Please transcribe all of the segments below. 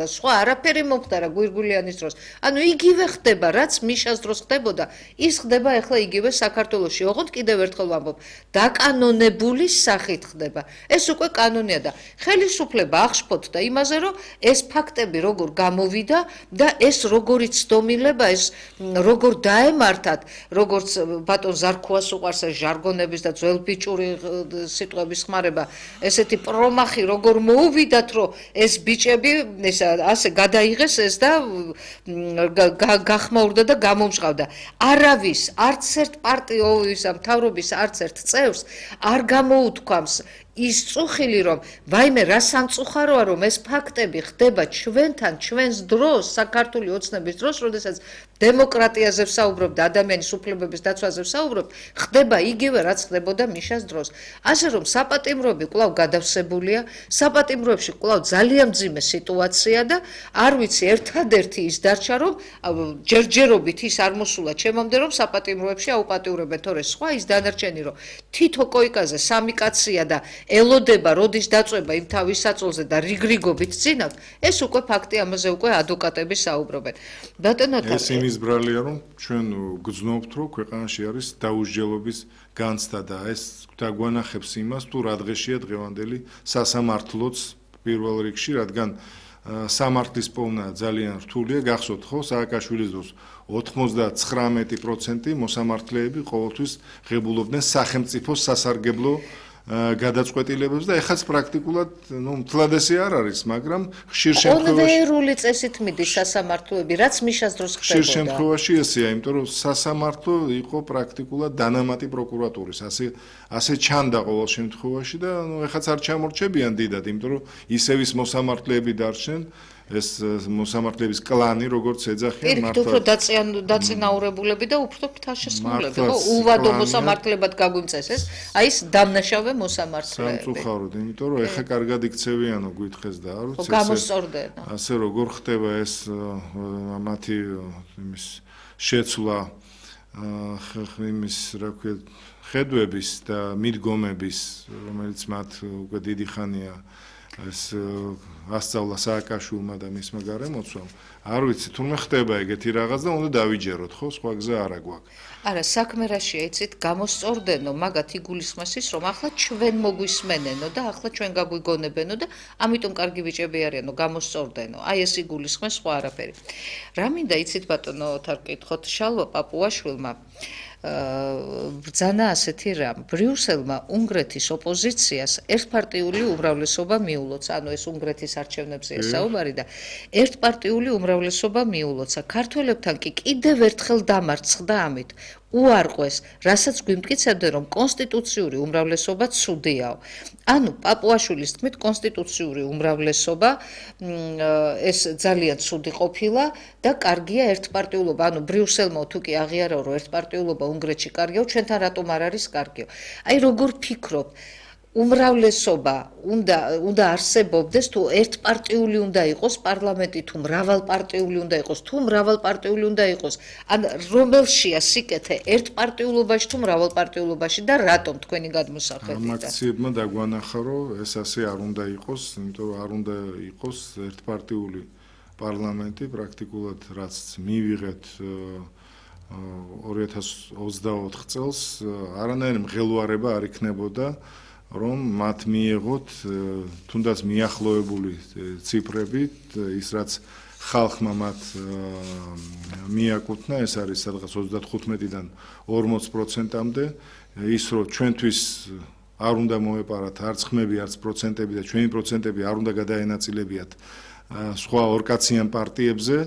სხვა არაფერი მომხდარა გვირგვილიანის დროს. ანუ იგივე ხდება, რაც მიშას დროს ხდებოდა, ის ხდება ახლა იგივე საქართველოში. ოღონდ კიდევ ერთხელ ვამბობ, დაკანონებული სახით ხდება. ეს უკვე კანონია და ხელისუფლება აღშფოთდა იმაზე, რომ ეს ფაქტები როგორ გამოვიდა და ეს როგორი ცდომილება, ეს როგორ დაემართათ, როგორც ბატონ ზარქუას უყვარს ჟარგონების და ძველბიჭური სიტყვების ხმარება, ესეთი პრომახი როგორ მოუვიდათ, რომ ეს ბიჭები ასე გადაიღეს ეს და გახმაურდა და გამომჟღავდა. არავის, არც ერთ პარტიის მთავრობის არც ერთ წევრს არ გამოუთქვამს ის წუხილი, რომ ვაიმე რა სამწუხაროა, რომ ეს ფაქტები ხდება ჩვენთან, ჩვენს დროს, საქართველოს ოცნების დროს, როდესაც დემოკრატიაზე ვსაუბრობ და ადამიანის უფლებების დაცვაზე ვსაუბრობ, ხდება იგივე, რაც ხდებოდა მიშას დროს. ასე რომ საპატიმროები კვლავ გადავსებულია, საპატიმროებში კვლავ ძალიან მძიმე სიტუაცია და არ ვიცი, ერთადერთი ის დარჩა, რომ ჯერჯერობით ის არ მოსულა ჩემამდე, რომ საპატიმროებში აუპატიურებენ, თორე სხვა ის დანარჩენი, რომ თითო კოიკაზე სამი კაცია და ელოდება, როდის დაწვება იმ თავის საწოლზე და რიგრიგობით წინავთ, ეს უკვე ფაქტი, ამაზე უკვე ადვოკატები საუბრობენ. ბატონო ეს იმის ბრალია, რომ ჩვენ გძნობთ, რომ ქვეყანაში არის დაუსჯელობის განცდა და ეს დაგვანახებს იმას, თუ რა დღეშია დღევანდელი სასამართლოც პირველ რიგში, რადგან სამართლის პოვნა ძალიან რთულია, გახსოვთ ხო, სააკაშვილის დროს 99% მოსამართლეები ყოველთვის ღებულობდნენ სახელმწიფოს სასარგებლო გადაწყვეტილებებს და ეხაც პრაქტიკულად მთლად ესე არ არის, მაგრამ ხშირ შემთხვევაში კონვეიერული წესით მიდის სასამართლოები, რაც მიშას დროს ხდებოდა. ხშირ შემთხვევაში ესეა, იმიტომ რომ სასამართლო იყო პრაქტიკულად დანამატი პროკურატურის, ასე ჩანდა ყოველ შემთხვევაში და ეხაც არ ჩამორჩებიან დიდად, იმიტომ რომ ისევ ის მოსამართლეები დარჩნენ, ეს მოსამართლეების კლანი, როგორც ეძახიან, მართლა უფრო დაწინაურებულები და უფრო ფრთაშესმულები, ხო? უვადო მოსამართლებად გაგვიმწესეს, აი ეს დამნაშავე მოსამართლეები. სამწუხაროდ, იმიტომ რომ ეხა კარგად იქცევიანო გითხეს და არ ვიცი, გამოსწორდენო. ასე როგორ ხდება ეს მათი იმის შეცვლა იმის, რა ქვია, ხედვების და მიდგომების, რომელიც მათ უკვე დიდი ხანია ეს ასწავლა სააკაშვილმა და მისმა გარემოცვამ. არ ვიცი, თურმე ხდება ეგეთი რაღაც და უნდა დავიჯეროთ, ხო, სხვა გზა არა გვაქვს. არა, საქმე რაშია, იცით, გამოსწორდენო, მაგათ იგულისხმეს ის, რომ ახლა ჩვენ მოგვისმენენო და ახლა ჩვენ გაგვიგონებენო და ამიტომ კარგი ბიჭები არიანო, გამოსწორდენო. აი ეს იგულისხმეს, სხვა არაფერი. რა მინდა იცით, ბატონო, თარ კითხოთ, შალვა პაპუაშვილმა ბრძანა ასეთი რამ. ბრიუსელმა უნგრეთის ოპოზიციას ერთპარტიული უმრავლესობა მიულოცა, ანუ ეს უნგრეთის არჩევნებზეა საუბარი და ერთპარტიული უმრავლესობა მიულოცა. ქართველებთან კი კიდევ ერთხელ დამარცხდა ამით. უარყვეს, რასაც გვიმტკიცებდნენ, რომ კონსტიტუციური უმრავლესობა ცუდიაო. ანუ პაპუაშვილის თქმით, კონსტიტუციური უმრავლესობა ეს ძალიან ცუდი ყოფილა და კარგია ერთპარტიულობა. ანუ ბრიუსელმა თუ კი აღიარაო, რომ ერთპარტიულობა უნგრეთში კარგიაო, ჩვენთან რატომ არ არის კარგიო? აი როგორ ფიქრობ? უმრავლესობა უნდა არსებობდეს, თუ ერთპარტიული უნდა იყოს პარლამენტი, თუ მრავალპარტიული უნდა იყოს, თუ მრავალპარტიული უნდა იყოს. ან რომელშია სიკეთე ერთპარტიულობაში თუ მრავალპარტიულობაში და რატომ თქვენი გადმოსახედით? ამაქციებმა დაგვანახა, რომ ეს ასე არ უნდა იყოს, იმიტომ რომ არ უნდა იყოს ერთპარტიული პარლამენტი, პრაქტიკულად რაც მივიღეთ 2024 წელს, არანაირი მღელვარება არ იქნებოდა, რომ მათ მიიღოთ თუნდაც მიახლოებული ციფრები, ის რაც ხალხმა მათ მიაკუთვნა, ეს არის სადღაც 35-დან 40%-მდე, ის რომ ჩვენთვის არ უნდა მოეპარათ არც ხმები, არც პროცენტები და ჩვენი პროცენტები არ უნდა გადაენაწილებიათ სხვა ორკაციან პარტიებზე.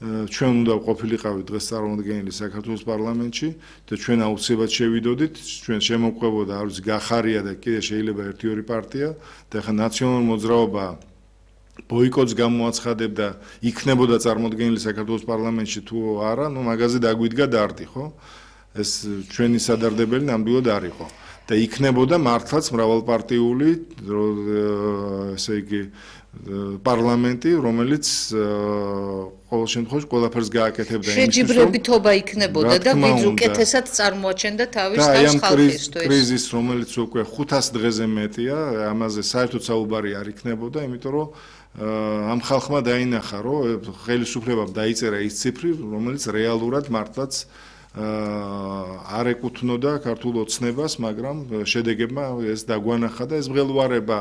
ჩვენ უნდა ყოფილიყავით დღეს წარმომადგენელი საქართველოს პარლამენტში და ჩვენ აუცილებლად შევიდოდით, ჩვენ შემოყვებოდა არ ვიცი გახარია და კიდე შეიძლება 1-2 პარტია და ახლა ნაციონალური მოძრაობა ბოიკოტს გამოაცხადებდა, იქნებოდა წარმოდგენილი საქართველოს პარლამენტში თუ არა, ნუ მაგაზე დაგვიდგა დარდი, ხო? ეს ჩვენი სადარდებელი ნამდვილად არ იყო. და იქნებოდა მართლაც მრავალპარტიული, ესე იგი პარლამენტი, რომელიც ყოველ შემთხვევაში ყველაფერს გააკეთებდა იმისთვის, რომ შეჯიბრებითობა იქნებოდა და უკეთესად წარმოაჩენდა თავის ხალხისთვის. და კრიზის, რომელიც უკვე 500 დღეზე მეტია, ამაზე საერთოდ საუბარი არ იქნებოდა, იმიტომ რომ ამ ხალხმა დაინახა, რომ ხელისუფლებამ დაიწერა ის ციფრი, რომელიც რეალურად მართლაც არ ეკუთვნოდა ქართულ ოცნებას, მაგრამ შედეგებმა ეს დაგვანახა და ეს მღელვარება,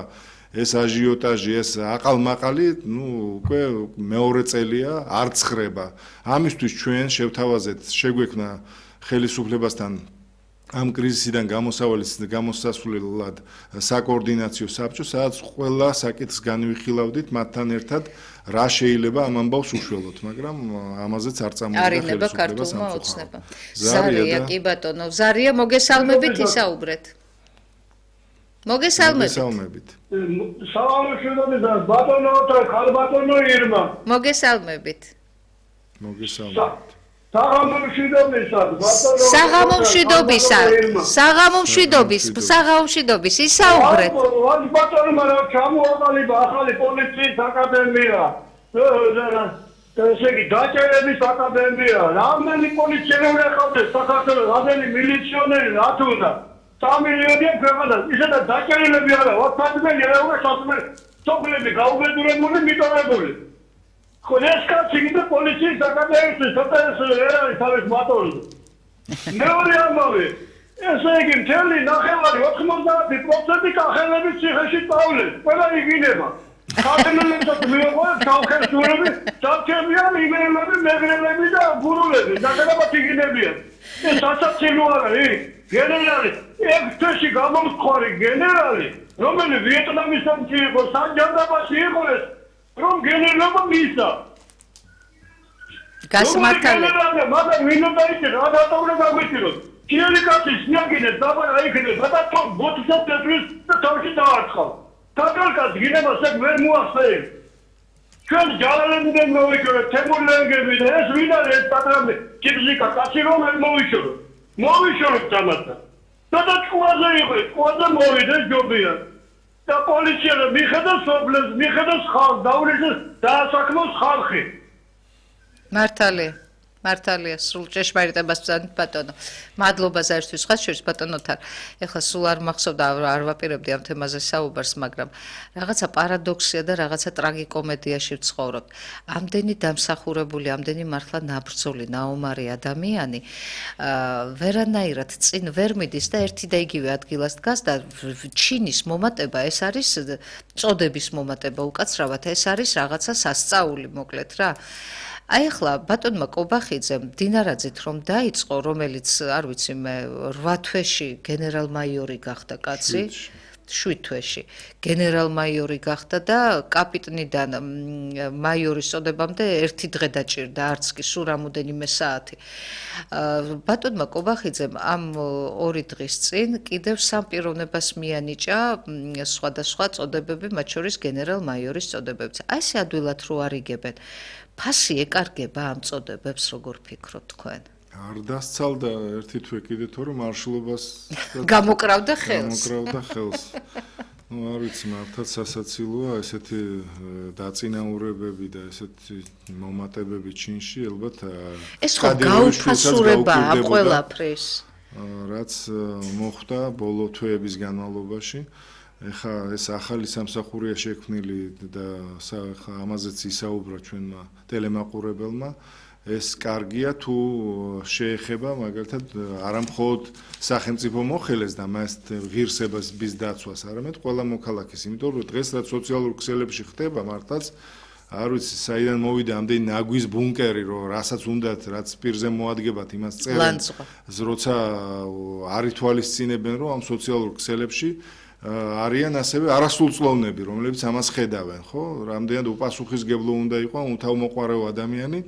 ეს აჟიოტაჟი, ეს აყალმაყალი, უკვე მეორე წელია არ ცხრება. ამისთვის ჩვენ შევთავაზეთ, შეგვექმნა ხელისუფლებასთან ამ კრიზისიდან გამოსასვლელად საკოორდინაციო საბჭო, სადაც ყველა საკითხს განვიხილავდით მათთან ერთად, რა შეიძლება ამ ამბავს უშველოთ, მაგრამ ამაზეც არ წამოვიდა ხელისუფლება სამწუხაროდ. ზარია, კი ბატონო, ზარია, მოგესალმებით ისაუბრეთ. მოგესალმებით. სალამშუდობისა, ბატონო და ხალბატონო ირმა. მოგესალმებით. მოგესალმებით. საღამომშვიდობის ისაუბრეთ. ბატონო, მაგრამ ჩამოაყალიბა ახალი პოლიციის აკადემია. ესე იგი, დაჭერების აკადემია. რამდენი პოლიციელი ყავდეს საქართველოს, რამდენი მილიციონერი რა თუ უნდა? 3 მილიონი ქვეყანას, ისედაც დაჭერილები არა, 14 მილიონი სოფლები გაუბედურებული, მიტოვებული. ეს კაცი კიდე პოლიციის აკადემიის სოციალისტი თავის მატორზე. მეორე ამბავი, ესე იგი მთელი 90% კახელების ციხეში პავლეს, ყველა იგინება. ქართველებსაც მიიღოს თავხელსურები, სამჩემიან იმეილები, მეგრელები და გურულები, ნახევრად იგინებიან. ეს ასაცილო არა, გენერალი, ეს თვეში გამომსხვარი გენერალი, რომელიც ვიეტნამის ომში იყო, სანჯანდაბაში იყო ეს, რომ გენერალობა მისცა. გასმართალი. მაგრამ ვინ უნდა იქნება, რა დატოვნა გაგვიწიროთ. ქიელი კაცი სიაგინეს დაბარა იქნება, ბატონო, ბოთსაც დაწვის და თავში დაარცხავ. თაკალკაც გინებას ეგ ვერ მოახსენე. ჩვენ ჯალალებიდან მოვიჭრეთ, თემურლენგები და ეს ვინ არის ეს პატრონი? კიბზიკა კაცი რომ მოვიშოროთ. მოვიშოროთ თამასთან. და ჭუაზე იყო, ჭუაზე მოვიდეს ჯობია. და პოლიცია მიხედავს სოფლებს, მიხედავს ხალხს, დაურიგოს დაასაქმოს ხალხი. მართალია, სულ ჭეშმარიტებას ვწადით ბატონო. მადლობა ზარისთვის ხალხს ბატონოთან. ეხლა სულ არ მახსოვდა, არ ვაპირებდი ამ თემაზე საუბარს, მაგრამ რაღაცა პარადოქსია და რაღაცა ტრაგიკომედიაში ვცხოვრობ. ამდენი დამსახურებული, ამდენი მართლა ნაბრძოლი, ნაომარი ადამიანი, ვერანაირად წინ ვერ მიდის და ერთი და იგივე ადგილას დგას და ჩინის მომატება, ეს არის წოდების მომატება უკაცრავად, ეს არის რაღაცა სასწაული, მოკლედ რა. აი ახლა ბატონმა კობახიძემ დინარაძით რომ დაიწყო, რომელიც არ ვიცი მე 8 თვეში გენერალ-მაიორი გახდა კაცი, 7 თვეში გენერალ-მაიორი გახდა და კაპიტნიდან მაიორის წოდებამდე 1 დღე დაჭირდა, არც კი სულ რამოდენიმე საათი. ბატონმა კობახიძემ ამ 2 დღის წინ კიდევ 3 პიროვნებას მიანიჭა სხვადასხვა წოდებები, მათ შორის გენერალ-მაიორის წოდებებიც. აი ესე ადვილად რო არიგებენ. ფასი ეკარგება ამ წოდებებს, როგორ ფიქრობთ თქვენ? არ დასცალდა ერთი თვე კიდე თორემ მარშლობას გამოკრავდა ხელს. არ ვიცი, მართლაც სასაცილოა ესეთი დაწინაურებები და ესეთი მომატებები ჩინში, ალბათ ეს ხო გაუფასურებაა ყველაფრის. რაც მოხდა ბოლო თვეების განმავლობაში. ეხა ეს ახალი სამსახურია შექმნილი და ამაზეც ისაუბრა ჩვენმა ტელემაყურებელმა. ეს კარგია თუ შეეხება მაგალითად არა მხოლოდ სახელმწიფო მოხელეს და მას ღირსებას ბის დაცვას, არამედ ყველა მოქალაქეს, იმიტომ რომ დღეს რაც სოციალურ ქსელებში ხდება, მართლაც არ ვიცი, საიდან მოვიდა ამდენი ნაგვის ბუნკერი, რომ რასაც უნდათ, რაც პირზე მოადგებათ, იმას წერენ, როცა არ ითვალისწინებენ, რომ ამ სოციალურ ქსელებში არიან ასევე არასრულწლოვნები, რომლებიც ამას ხედავენ, ხო? რამდენად უპასუხისმგებლო უნდა იყოს უთავმოყვარეო ადამიანი,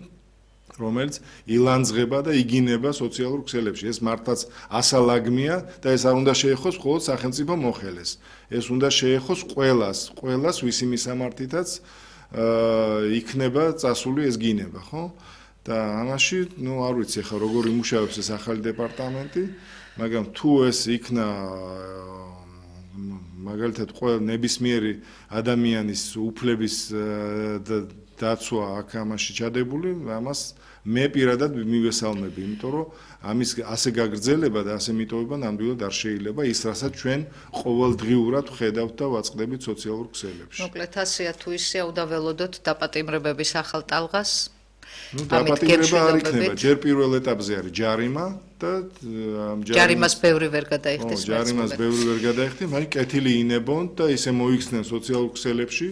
რომელიც ილანძღება და იგინება სოციალურ ქსელებში. ეს მართლაც ასალაგმია და ეს არ უნდა შეეხოს მხოლოდ სახელმწიფო მოხელეს. ეს უნდა შეეხოს ყველას, ვისი მისამართითაც იქნება წასული ეს გინება, ხო? და ამაში, არ ვიცი ახლა როგორ იმუშავებს ეს ახალი დეპარტამენტი, მაგრამ თუ ეს იქნა მაგალითად ნებისმიერი ადამიანის უფლების დაცვა აქ ამაში ჩადებული, ამას მე პირადად მივესალმები, იმიტომ რომ ამის ასე გაგრძელება და ასე მიტოვება ნამდვილად არ შეიძლება ის, რასაც ჩვენ ყოველდღიურად ვხედავთ და ვაწყდებით სოციალურ ქსელებში. მოკლედ ასეა თუ ისეა უნდა ველოდოთ დაპატიმრებების ახალ ტალღას. დაპატიმრება არ იქნება, ჯერ პირველ ეტაპზე არის ჯარიმა და ჯარიმას ბევრი ვერ გადაიხდის. ჯარიმას ბევრი ვერ გადაიხდის, მაგრამ კეთილი ინებონ და ისე მოიქცნენ სოციალურ ქსელებში,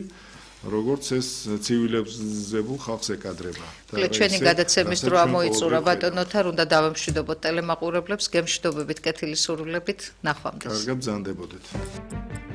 როგორც ეს ცივილიზებულ ხალხს ეკადრება. ჩვენი გადაცემის დრო მოიწურა ბატონო თარ, უნდა დავემშვიდობოთ ტელემაყურებლებს, გემშვიდობებით, კეთილი სურვილებით, ნახვამდის. კარგად ბრძანდებოდეთ.